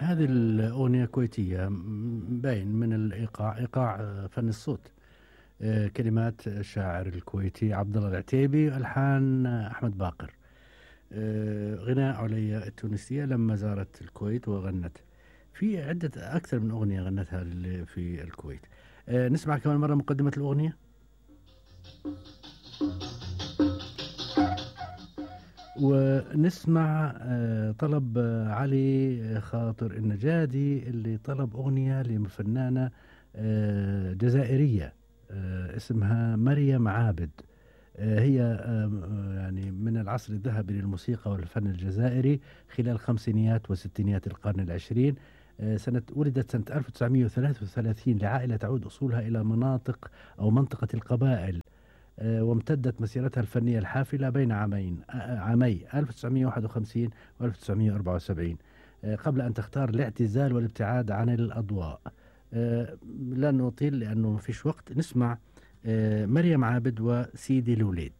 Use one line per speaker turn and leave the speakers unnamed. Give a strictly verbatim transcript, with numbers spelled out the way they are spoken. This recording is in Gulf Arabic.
هذه الأغنية كويتية، م- باين من الإيقاع، إيقاع آه، فن الصوت. آه، كلمات الشاعر الكويتي عبد الله العتيبي، ألحان آه، أحمد باقر. آه، غناء عليا التونسية لما زارت الكويت وغنت. في عدة أكثر من أغنية غنتها لل- في الكويت. آه، نسمع كمان مرة مقدمة الأغنية. ونسمع آه، طلب آه، علي خاطر النجادي اللي طلب أغنية لفنانة آه، جزائرية آه، اسمها مريم عابد. آه، هي آه، آه، يعني من العصر الذهبي للموسيقى والفن الجزائري خلال خمسينيات وستينيات القرن العشرين. آه، سنة ولدت سنة ألف وتسعمئة وثلاثة وثلاثين لعائلة تعود أصولها إلى مناطق أو منطقة القبائل. آه، وامتدت مسيرتها الفنية الحافلة بين عامين آه، عامي ألف وتسعمئة وواحد وخمسين و ألف وتسعمئة وأربعة وسبعين، آه، قبل أن تختار الاعتزال والابتعاد عن الأضواء. آه، لن نطيل لأنه ما فيش وقت. نسمع آه، مريم عابد وسيدي الوليد.